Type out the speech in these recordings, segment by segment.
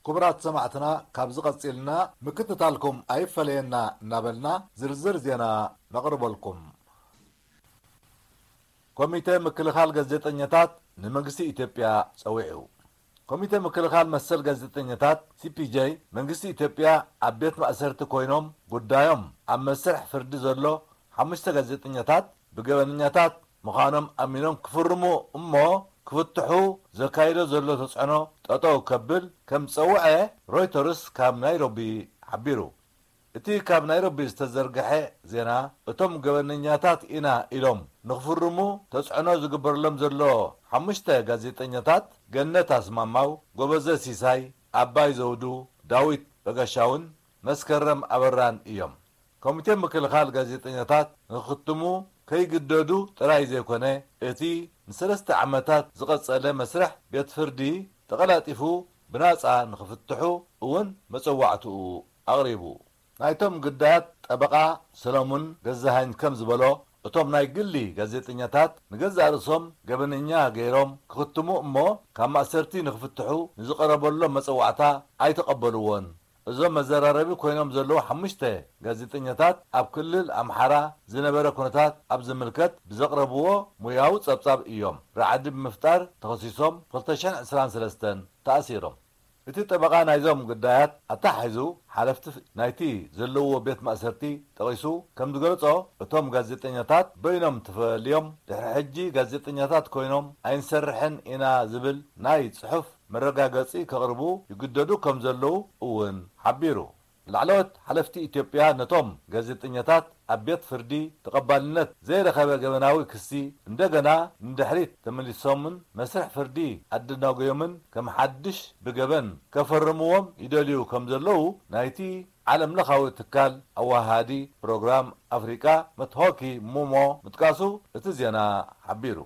ክቡራት ሰማዕትና፣ ካብዚ ቀጺልና ምክትታልኩም ኣይፈለየና እናበልና ዝርዝር ዜና ነቕርበልኩም። ኮሚተ ምክልኻል ጋዜጠኛታት ንመንግስቲ ኢትዮጵያ ጸዊዑ። ኮሚተ ምክልኻል መሰል ጋዜጠኛታት፣ ሲ ፒ ጄ፣ መንግስቲ ኢትዮጵያ ኣብ ቤት ማእሰርቲ ኮይኖም ጉዳዮም ኣብ መስርሕ ፍርዲ ዘሎ ሓሙሽተ ጋዜጠኛታት ብገበነኛታት ምዃኖም ኣሚኖም ክፍርሙ እሞ ክፍትሑ ዘካይዶ ዘሎ ተጽዕኖ ጠጠው ከብል ከም ዝጸውዐ ሮይተርስ ካብ ናይሮቢ ሓቢሩ። እቲ ካብ ናይሮቢ ዝተዘርግሐ ዜና፣ እቶም ገበነኛታት ኢና ኢሎም ንኽፍርሙ ተጽዕኖ ዝግበረሎም ዘሎ ሓሙሽተ ጋዜጠኛታት፣ ገነት ኣስማማው፣ ጎበዘ ሲሳይ፣ ኣባይ ዘውዱ፣ ዳዊት በጋሻውን መስከረም ኣበራን እዮም። ኮሚቴ ምክልኻል ጋዜጠኛታት ንኽክትሙ ከይግደዱ ጥራይ ዘይኮነ፣ እቲ ንሰለስተ ዓመታት ዝቐጸለ መስርሕ ቤት ፍርዲ ተቐላጢፉ ብናጻ ንኽፍትሑ እውን መጸዋዕትኡ ኣቕሪቡ። ናይቶም ግዳያት ጠበቓ ሰለሙን ገዛሃኝ ከም ዝበሎ፣ እቶም ናይ ግሊ ጋዜጠኛታት ንገዛእ ርእሶም ገበነኛ ገይሮም ክኽትሙ እሞ ካብ ማእሰርቲ ንኽፍትሑ ንዝቐረበሎም መጸዋዕታ ኣይተቐበልዎን። እዞም መዘራረቢ ኮይኖም ዘለዉ ሓሙሽተ ጋዜጠኛታት ኣብ ክልል ኣምሓራ ዝነበረ ኩነታት ኣብ ዝምልከት ብዘቕረብዎ ሙያዊ ጸብጻብ እዮም ራዕዲ ብምፍጣር ተኸሲሶም ክልተ ሽሕን ዕስራን ሰለስተን ተኣሲሮም። እቲ ጠበቓ ናይዞም ግዳያት ኣተሓሒዙ ሓለፍቲ ናይቲ ዘለዎ ቤት ማእሰርቲ ጠቒሱ ከም ዝገለጾ፣ እቶም ጋዜጠኛታት በይኖም ተፈልዮም ድሕሪ ሕጂ ጋዜጠኛታት ኮይኖም ኣይንሰርሕን ኢና ዝብል ናይ ጽሑፍ መረጋገጺ ከቕርቡ ይግደዱ ከም ዘለዉ እውን ሓቢሩ። ላዕለዎት ሓለፍቲ ኢትዮጵያ ነቶም ጋዜጠኛታት ኣብ ቤት ፍርዲ ተቐባልነት ዘይረኸበ ገበናዊ ክሲ እንደገና ንድሕሪት ተመሊሶምን መስርሕ ፍርዲ ኣደናጎዮምን ከም ሓድሽ ብገበን ከፈርምዎም ይደልዩ ከም ዘለዉ ናይቲ ዓለም ለኻዊ ትካል ኣወሃሃዲ ፕሮግራም ኣፍሪቃ መትሆኪ ሙሞ ምጥቃሱ እቲ ዜና ሓቢሩ።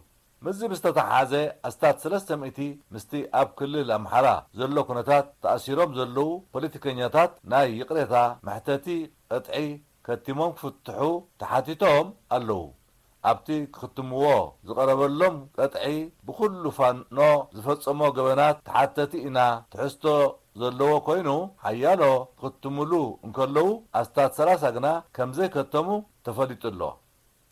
ምስዚ ብዝተተሓሓዘ ኣስታት ሰለስተ ሚእቲ ምስቲ ኣብ ክልል ኣምሓራ ዘሎ ኩነታት ተኣሲሮም ዘለዉ ፖለቲከኛታት ናይ ይቕሬታ መሕተቲ ቅጥዒ ከቲሞም ክፍትሑ ተሓቲቶም ኣለዉ። ኣብቲ ክኽትምዎ ዝቐረበሎም ቅጥዒ ብኹሉ ፋኖ ዝፈጸሞ ገበናት ተሓተቲ ኢና፣ ትሕዝቶ ዘለዎ ኮይኑ ሓያሎ ክኽትምሉ እንከለዉ ኣስታት ሰላሳ ግና ከም ዘይከተሙ ተፈሊጡ ኣሎ።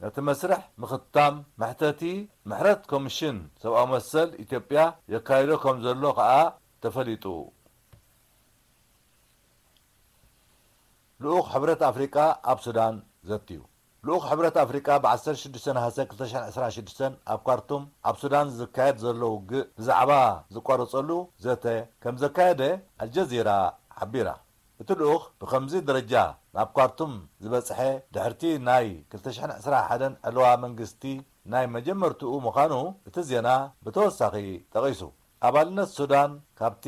ነቲ መስርሕ ምኽታም መሕተቲ ምሕረት ኮሚሽን ሰብኣዊ መሰል ኢትዮጵያ የካይዶ ከም ዘሎ ከኣ ተፈሊጡ። ልኡኽ ሕብረት ኣፍሪቃ ኣብ ሱዳን ዘትዩ። ልኡኽ ሕብረት ኣፍሪቃ ብ ዓሰርተ ሽዱሽተ ነሓሰ ክልተ ሽሕን ዕስራን ሽዱሽተን ኣብ ካርቱም ኣብ ሱዳን ዝካየድ ዘሎ ውግእ ብዛዕባ ዝቋረጸሉ ዘተ ከም ዘካየደ ኣልጀዚራ ሓቢራ። እቲ ልኡኽ ብኸምዚ ደረጃ ናብ ካርቱም ዝበጽሐ ድሕርቲ ናይ ክልተ ሽሕን ዕስራን ሓደን ዕልዋ መንግስቲ ናይ መጀመርትኡ ምዃኑ እቲ ዜና ብተወሳኺ ጠቒሱ። ኣባልነት ሱዳን ካብቲ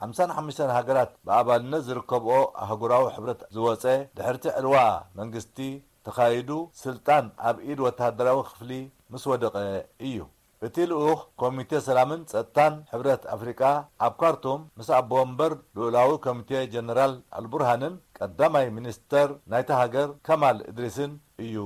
ሓምሳን ሓሙሽተን ሃገራት ብኣባልነት ዝርከብኦ ኣህጉራዊ ሕብረት ዝወጸ ድሕርቲ ዕልዋ መንግስቲ ተኻይዱ ስልጣን ኣብ ኢድ ወተሃደራዊ ክፍሊ ምስ ወደቐ እዩ። እቲ ልኡኽ ኮሚቴ ሰላምን ጸጥታን ሕብረት ኣፍሪቃ ኣብ ካርቱም ምስ ኣቦ ወንበር ልኡላዊ ኮሚቴ ጀነራል ኣልቡርሃንን ቀዳማይ ሚኒስተር ናይታ ሃገር ከማል እድሪስን እዩ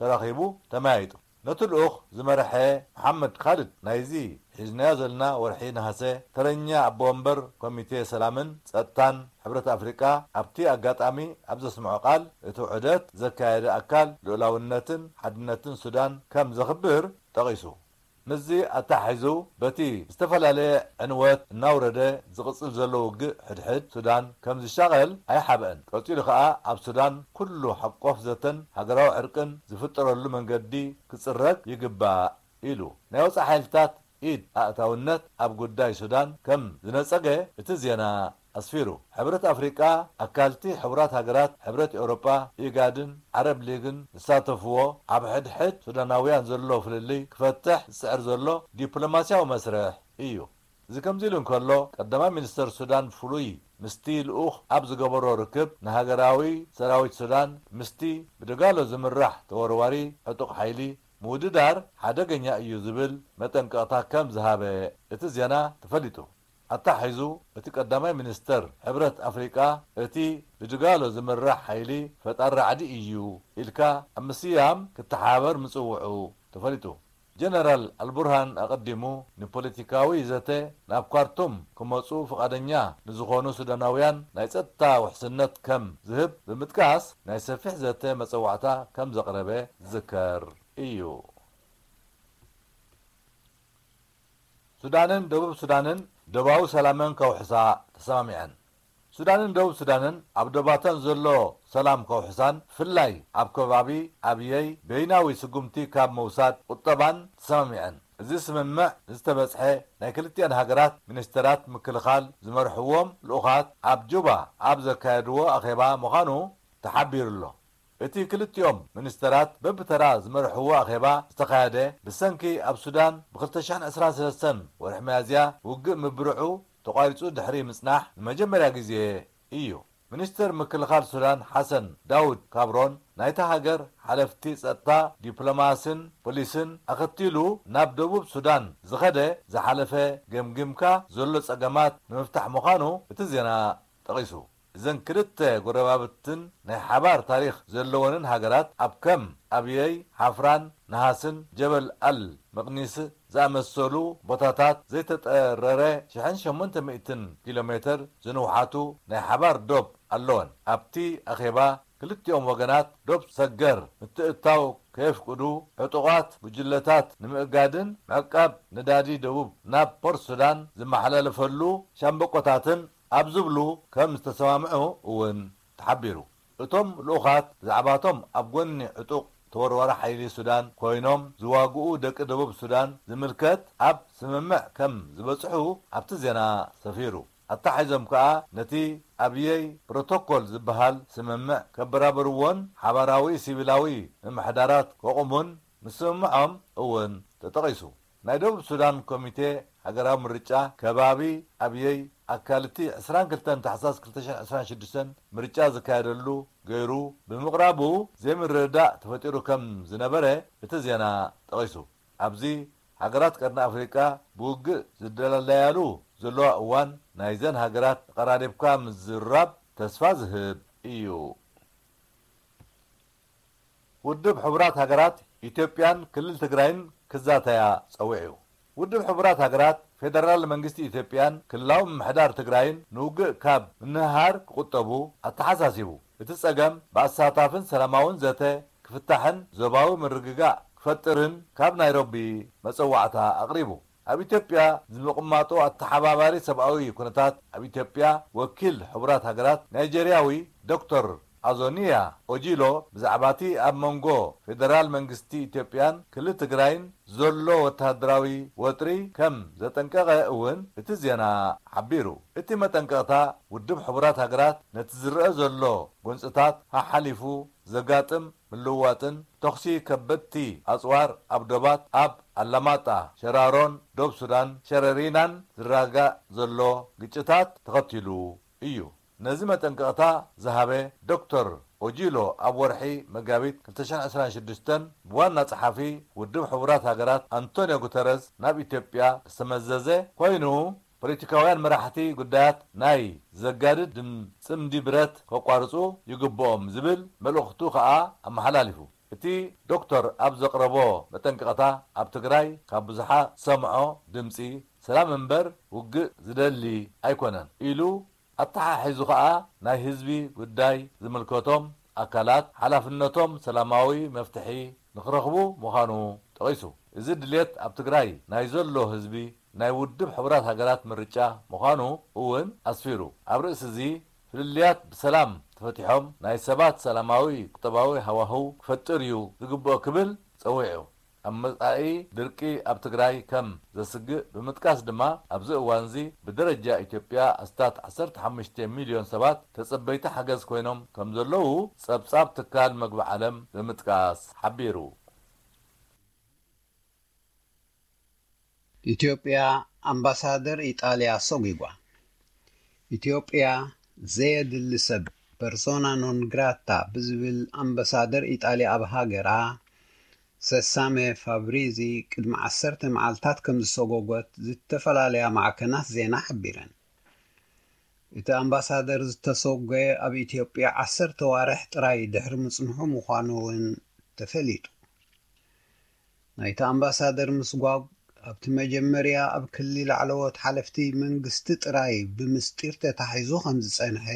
ተራኺቡ ተመያይጡ። ነቲ ልኡኽ ዝመርሐ መሓመድ ካሊድ ናይዚ ሒዝናዮ ዘለና ወርሒ ነሃሰ ተረኛ ኣቦ ወንበር ኮሚቴ ሰላምን ጸጥታን ሕብረት ኣፍሪቃ ኣብቲ ኣጋጣሚ ኣብ ዘስምዖ ቃል፣ እቲ ውሕደት ዘካየደ ኣካል ልኡላውነትን ሓድነትን ሱዳን ከም ዘኽብር ጠቒሱ። ምስዚ ኣተሓሒዙ፣ በቲ ዝተፈላለየ ዕንወት እናውረደ ዝቕጽል ዘሎ ውግእ ሕድሕድ ሱዳን ከም ዝሻቐል ኣይሓብአን። ቀጺሉ ከኣ ኣብ ሱዳን ኩሉ ሓቆፍ ዘተን ሃገራዊ ዕርቅን ዝፍጠረሉ መንገዲ ክጽረግ ይግባእ ኢሉ። ናይ ወጻኢ ሓይልታት ኢድ ኣእታውነት ኣብ ጉዳይ ሱዳን ከም ዝነጸገ እቲ ዜና ኣስፊሩ። ሕብረት ኣፍሪቃ፣ ኣካልቲ ሕቡራት ሃገራት፣ ሕብረት ኤውሮጳ፣ ኢጋድን ዓረብ ሊግን ዝሳተፍዎ ኣብ ሕድሕድ ሱዳናውያን ዘሎ ፍልልይ ክፈትሕ ዝጽዕር ዘሎ ዲፕሎማስያዊ መስርሕ እዩ። እዚ ከምዚ ኢሉ እንከሎ፣ ቀዳማይ ሚኒስተር ሱዳን ፍሉይ ምስቲ ልኡኽ ኣብ ዝገበሮ ርክብ፣ ንሃገራዊ ሰራዊት ሱዳን ምስቲ ብድጋሎ ዝምራሕ ተወርዋሪ ዕጡቕ ሓይሊ ምውድዳር ሓደገኛ እዩ ዝብል መጠንቀቕታ ከም ዝሃበ እቲ ዜና ተፈሊጡ። ኣተሓሒዙ፣ እቲ ቀዳማይ ሚኒስተር ሕብረት ኣፍሪቃ፣ እቲ ብድጋሎ ዝምራሕ ሓይሊ ፈጣሪ ራዕዲ እዩ ኢልካ ኣብ ምስያም ክተሓባበር ምጽውዑ ተፈሊጡ። ጀነራል ኣልቡርሃን ኣቐዲሙ ንፖለቲካዊ ዘተ ናብ ካርቱም ክመጹ ፍቓደኛ ንዝኾኑ ሱዳናውያን ናይ ጸጥታ ውሕስነት ከም ዝህብ ብምጥቃስ ናይ ሰፊሕ ዘተ መጸዋዕታ ከም ዘቕረበ ዝዝከር እዩ። ሱዳንን ደቡብ ሱዳንን ዶባዊ ሰላመን ከውሕሳ ተሰማሚዐን። ሱዳንን ደቡብ ሱዳንን ኣብ ዶባተን ዘሎ ሰላም ከውሕሳን ብፍላይ ኣብ ከባቢ ኣብየይ በይናዊ ስጉምቲ ካብ ምውሳድ ቁጠባን ተሰማሚዐን። እዚ ስምምዕ ዝተበጽሐ ናይ ክልቲኣን ሃገራት ሚኒስተራት ምክልኻል ዝመርሕዎም ልኡኻት ኣብ ጁባ ኣብ ዘካየድዎ ኣኼባ ምዃኑ ተሓቢሩ ኣሎ። እቲ ክልቲኦም ሚኒስተራት በብተራ ዝመርሕዎ ኣኼባ ዝተኻየደ ብሰንኪ ኣብ ሱዳን ብ ክልተ ሽሕን ዕስራን ሰለስተን ወርሒ ሚያዝያ ውግእ ምብርዑ ተቋሪጹ ድሕሪ ምጽናሕ ንመጀመርያ ግዜ እዩ። ሚኒስተር ምክልኻል ሱዳን ሓሰን ዳውድ ካብሮን ናይታ ሃገር ሓለፍቲ ጸጥታ፣ ዲፕሎማስን ፖሊስን ኣኸቲሉ ናብ ደቡብ ሱዳን ዝኸደ ዝሓለፈ ገምጊምካ ዘሎ ጸገማት ንምፍታሕ ምዃኑ እቲ ዜና ጠቒሱ። እዘን ክልተ ጎረባብትን ናይ ሓባር ታሪኽ ዘለወንን ሃገራት ኣብ ከም ኣብየይ፣ ሓፍራን፣ ነሃስን ጀበል ኣል መቕኒስ ዝኣመሰሉ ቦታታት ዘይተጠረረ ሽሕን ሸሞንተ ሚእትን ኪሎ ሜተር ዝንውሓቱ ናይ ሓባር ዶብ ኣለወን። ኣብቲ ኣኼባ ክልቲኦም ወገናት ዶብ ሰገር ምትእትታው ከየፍቅዱ፣ ዕጡቓት ጉጅለታት ንምእጋድን ምዕቃብ ነዳዲ ደቡብ ናብ ፖርት ሱዳን ዝመሓላለፈሉ ሻምበቆታትን ኣብ ዝብሉ ከም ዝተሰማምዑ እውን ተሓቢሩ። እቶም ልኡኻት ብዛዕባቶም ኣብ ጎኒ ዕጡቕ ተወርዋሪ ሓይሊ ሱዳን ኮይኖም ዝዋግኡ ደቂ ደቡብ ሱዳን ዝምልከት ኣብ ስምምዕ ከም ዝበጽሑ ኣብቲ ዜና ሰፊሩ። ኣተሓሒዞም ከኣ ነቲ ኣብየይ ፕሮቶኮል ዝበሃል ስምምዕ ከበራብርዎን ሓባራዊ ሲቪላዊ ምምሕዳራት ከቑሙን ምስምምዖም እውን ተጠቒሱ። ናይ ደቡብ ሱዳን ኮሚቴ ሃገራዊ ምርጫ ከባቢ ኣብየይ ኣካል እቲ ዕስራን ክልተን ታሕሳስ ክልተ ሽሕን ዕስራን ሽዱሽተን ምርጫ ዝካየደሉ ገይሩ ብምቕራቡ ዘይምርድዳእ ተፈጢሩ ከም ዝነበረ እቲ ዜና ጠቒሱ። ኣብዚ ሃገራት ቀርኒ ኣፍሪቃ ብውግእ ዝደላለያሉ ዘለዋ እዋን ናይዘን ሃገራት ተቐራሪብካ ምዝራብ ተስፋ ዝህብ እዩ። ውድብ ሕቡራት ሃገራት ኢትዮጵያን ክልል ትግራይን ክዛተያ ጸዊዑ። ውድብ ሕቡራት ሃገራት ፌደራል መንግስቲ ኢትዮጵያን ክልላዊ ምምሕዳር ትግራይን ንውግእ ካብ ምንህሃር ክቑጠቡ ኣተሓሳሲቡ። እቲ ጸገም ብኣሳታፍን ሰላማውን ዘተ ክፍታሕን ዞባዊ ምርግጋእ ክፈጥርን ካብ ናይሮቢ መጸዋዕታ ኣቕሪቡ። ኣብ ኢትዮጵያ ዝምቕማጡ ኣተሓባባሪ ሰብኣዊ ኩነታት ኣብ ኢትዮጵያ ወኪል ሕቡራት ሃገራት ናይጀርያዊ ዶክተር ኣዞኒያ ኦጂሎ ብዛዕባ እቲ ኣብ መንጎ ፌደራል መንግስቲ ኢትዮጵያን ክልል ትግራይን ዘሎ ወተሃደራዊ ወጥሪ ከም ዘጠንቀቐ እውን እቲ ዜና ሓቢሩ። እቲ መጠንቀቕታ ውድብ ሕቡራት ሃገራት ነቲ ዝረአ ዘሎ ጎንጽታት ሓሓሊፉ ዘጋጥም ምልውዋጥን ተኹሲ ከበድቲ ኣጽዋር ኣብ ዶባት ኣብ ኣላማጣ፣ ሸራሮን ዶብ ሱዳን ሸረሪናን ዝረጋጋእ ዘሎ ግጭታት ተኸቲሉ እዩ። ነዚ መጠንቀቕታ ዝሃበ ዶክተር ኦጂሎ ኣብ ወርሒ መጋቢት ክልተ ሽሕን ዕስራን ሽዱሽተን ብዋና ጸሓፊ ውድብ ሕቡራት ሃገራት ኣንቶንዮ ጉተረዝ ናብ ኢትዮጵያ ዝተመዘዘ ኮይኑ፣ ፖለቲካውያን መራሕቲ ጉዳያት ናይ ዘጋድድ ድም-፣ ጽምዲ ብረት ከቋርጹ ይግብኦም ዝብል መልእኽቱ ከኣ ኣመሓላሊፉ። እቲ ዶክተር ኣብ ዘቕረቦ መጠንቀቕታ፣ ኣብ ትግራይ ካብ ብዙሓ ሰምዖ ድምጺ ሰላም እምበር ውግእ ዝደሊ ኣይኮነን ኢሉ፣ ኣተሓሒዙ ከኣ ናይ ህዝቢ ጉዳይ ዝምልከቶም ኣካላት ሓላፍነቶም ሰላማዊ መፍትሒ ንክረኽቡ ምዃኑ ጠቒሱ። እዚ ድልየት ኣብ ትግራይ ናይ ዘሎ ህዝቢ ናይ ውድብ ሕቡራት ሃገራት ምርጫ ምዃኑ እውን ኣስፊሩ። ኣብ ርእሲ እዚ ፍልልያት ብሰላም ተፈቲሖም ናይ ሰባት ሰላማዊ ቁጠባዊ ሃዋህው ክፈጥር እዩ ዝግብኦ ክብል ጸዊዑ። ኣብ መጻኢ ድርቂ ኣብ ትግራይ ከም ዘስግእ ብምጥቃስ ድማ ኣብዚ እዋንዚ ብደረጃ ኢትዮጵያ ኣስታት ዓሰርተ ሓሙሽተ ሚልዮን ሰባት ተጸበይቲ ሓገዝ ኮይኖም ከም ዘለዉ ጸብጻብ ትካል መግቢ ዓለም ብምጥቃስ ሓቢሩ። ኢትዮጵያ ኣምባሳደር ኢጣልያ ሰጒጓ። ኢትዮጵያ ዘየድሊ ሰብ፣ ፐርሶና ኖን ግራታ፣ ብዝብል ኣምባሳደር ኢጣልያ ኣብ ሃገራ፣ ሰሳሜ ፋብሪዚ፣ ቅድሚ ዓሰርተ መዓልታት ከም ዝሰጎጎት ዝተፈላለያ ማዕከናት ዜና ሓቢረን። እቲ ኣምባሳደር ዝተሰጎየ ኣብ ኢትዮጵያ ዓሰርተ ዋርሕ ጥራይ ድሕሪ ምጽንሑ ምዃኑ እውን ተፈሊጡ። ናይቲ ኣምባሳደር ምስጓግ ኣብቲ መጀመርያ ኣብ ክሊ ላዕለዎት ሓለፍቲ መንግስቲ ጥራይ ብምስጢር ተታሒዙ ከም ዝጸንሐ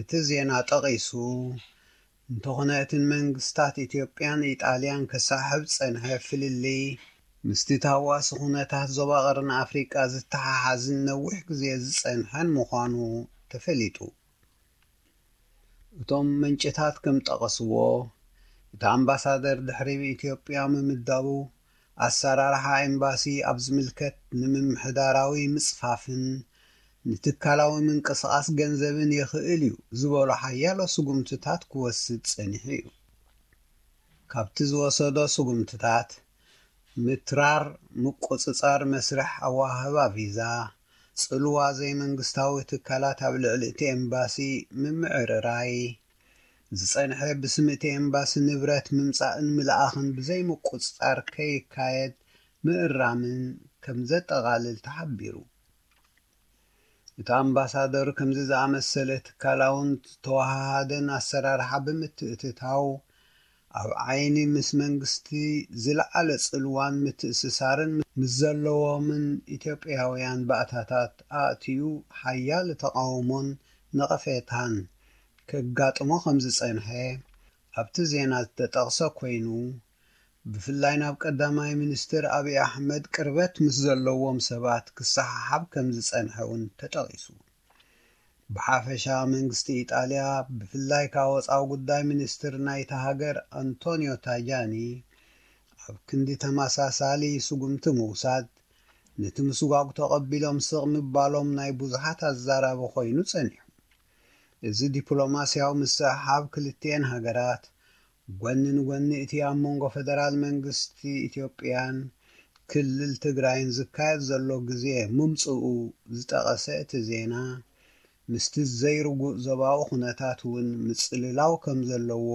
እቲ ዜና ጠቒሱ፣ እንተኾነ እተን መንግስታት ኢትዮጵያን ኢጣልያን ከሳሕብ ዝጸንሐ ፍልልይ ምስቲ ታህዋሲ ኩነታት ዞባ ቀርኒ ኣፍሪቃ ዝተሓሓዝን ነዊሕ ግዜ ዝጸንሐን ምዃኑ ተፈሊጡ። እቶም ምንጭታት ከም ጠቐስዎ፣ እቲ ኣምባሳደር ድሕሪ ብኢትዮጵያ ምምዳቡ ኣሰራርሓ ኤምባሲ ኣብ ዝምልከት ንምምሕዳራዊ ምጽፋፍን ንትካላዊ ምንቅስቓስ ገንዘብን የኽእል እዩ ዝበሎ ሓያሎ ስጉምትታት ክወስድ ጸኒሑ እዩ። ካብቲ ዝወሰዶ ስጉምትታት ምትራር ምቁጽጻር መስርሕ ኣወሃህባ ቪዛ፣ ጽልዋ ዘይመንግስታዊ ትካላት ኣብ ልዕሊ እቲ ኤምባሲ ምምዕርራይ፣ ዝጸንሐ ብስም እቲ ኤምባሲ ንብረት ምምጻእን ምልኣኽን ብዘይምቁጽጻር ከይካየድ ምእራምን ከም ዘጠቓልል ተሓቢሩ። እቲ ኣምባሳደር ከምዚ ዝኣመሰለ ትካላውን ዝተወሃሃደን ኣሰራርሓ ብምትእትታው፣ ኣብ ዓይኒ ምስ መንግስቲ ዝለዓለ ጽልዋን ምትእስሳርን ምስ ዘለዎምን ኢትዮጵያውያን ባእታታት ኣእትዩ ሓያል ተቓውሞን ነቐፌታን ከጋጥሞ ከም ዝጸንሐ ኣብቲ ዜና ዝተጠቕሰ ኮይኑ፣ ብፍላይ ናብ ቀዳማይ ሚኒስትር ኣብይ ኣሕመድ ቅርበት ምስ ዘለዎም ሰባት ክሰሓሓብ ከም ዝጸንሐ እውን ተጠቒሱ። ብሓፈሻ መንግስቲ ኢጣልያ ብፍላይ ካብ ወጻኢ ጉዳይ ሚኒስትር ናይታ ሃገር ኣንቶኒዮ ታጃኒ ኣብ ክንዲ ተመሳሳሊ ስጉምቲ ምውሳድ ነቲ ምስጓግ ተቐቢሎም ስቕ ምባሎም ናይ ብዙሓት ኣዛራቢ ኮይኑ ጸኒሑ። እዚ ዲፕሎማስያዊ ምስሕሓብ ክልቲኤን ሃገራት ጎኒ ንጎኒ እቲ ኣብ መንጎ ፈደራል መንግስቲ ኢትዮጵያን ክልል ትግራይን ዝካየድ ዘሎ ግዜ ምምፅኡ ዝጠቐሰ እቲ ዜና፣ ምስቲ ዘይርጉእ ዞባዊ ኩነታት እውን ምጽልላው ከም ዘለዎ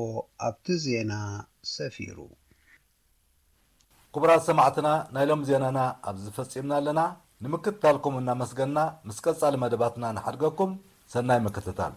ኣብቲ ዜና ሰፊሩ። ክቡራት ሰማዕትና፣ ናይ ሎም ዜናና ኣብዚ ፈጺምና ኣለና። ንምክትታልኩም እናመስገና፣ ምስ ቀጻሊ መደባትና ንሓድገኩም። ሰናይ ምክትታል።